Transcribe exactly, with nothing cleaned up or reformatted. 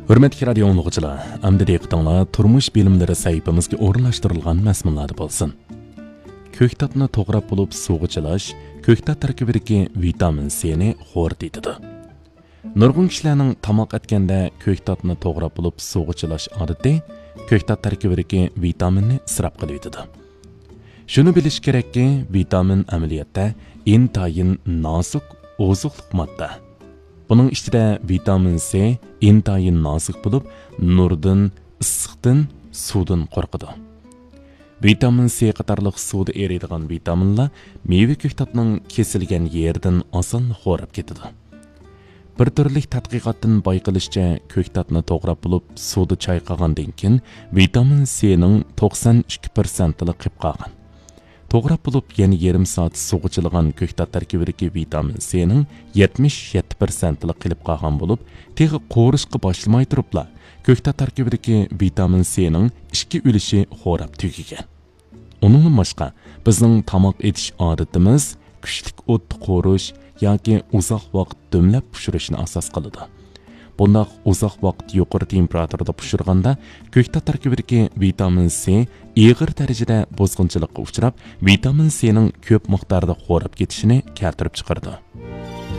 ھۆرمەتلىك رادىيو ئاڭلىغۇچىلار، ئەمدى دىققىتىڭلار تۇرمۇش بىلىملىرى سەھىپىمىزگە ئورۇنلاشتۇرۇلغان مەزمۇنلاردا بولسۇن. كۆكتاتنى توغراپ بولۇپ سۇغا چىلاش كۆكتات تەركىبىدىكى ۋىتامىن سىنى خورىتىۋېتىدۇ. نۇرغۇن كىشىلەرنىڭ تاماق ئەتكەندە كۆكتاتنى توغراپ بولۇپ سۇغا چىلاش ئادىتى كۆكتات تەركىبىدىكى ۋىتامىننى ئىسراپ قىلىۋېتىدۇ. شۇنى بىلىش كېرەككى، ۋىتامىن ئەمەلىيەتتە ئىنتايىن نازۇك ئوزۇقلۇق ماددا. بۇنىڭ ئىچىدە ۋىتامىن سى ئىنتايىن نازۇك بولۇپ، نۇردىن، ئىسسىقتىن، سۇدىن قورقىدۇ. ۋىتامىن سى قاتارلىق سۇدا ئېرىيدىغان ۋىتامىنلار مېۋە كۆكتاتنىڭ كېسىلگەن يېرىدىن ئاسانلا خوراپ كېتىدۇ. بىر تۈرلۈك تەتقىقاتتىن بايقىلىشىچە، كۆكتاتنى توغراپ بولۇپ، سۇدا چايقىغاندىن كېيىن، ۋىتامىن سىنىڭ توقسان ئىككى پىرسەنتىلا قېلىپ قالغان. توغراپ بولۇپ، يەنە يېرىم سائەت سۇغا چىلىغان كۆكتات تەركىبىدىكى ۋىتامىن سىنىڭ يەتمىش يەتتە پىرسەنتىلا قېلىپ قالغان بولۇپ، تېخى قورۇشقا باشلىماي تۇرۇپلا، كۆكتات تەركىبىدىكى ۋىتامىن سىنىڭ ئىككى ئۈلۈشى خوراپ تۈگىگەن. ئۇنىڭدىن باشقا، بىزنىڭ تاماق ئېتىش ئادىتىمىز كۈچلۈك ئوتتا قورۇش ياكى ئۇزاق ۋاقىت دۈملەپ پىشۇرۇشنى ئاساس قىلىدۇ. بۇنداق ئۇزاق ۋاقىت يۇقىرى تېمپېراتۇرىدا پىشۇرغاندا، كۆكتات تەركىبىدىكى ۋىتامىن سى ئېغىر دەرىجىدە بۇزغۇنچىلىققا ئۇچراپ، ۋىتامىن سىنىڭ كۆپ مىقداردا خوراپ كېتىشىنى كەلتۈرۈپ چىقىرىدۇ.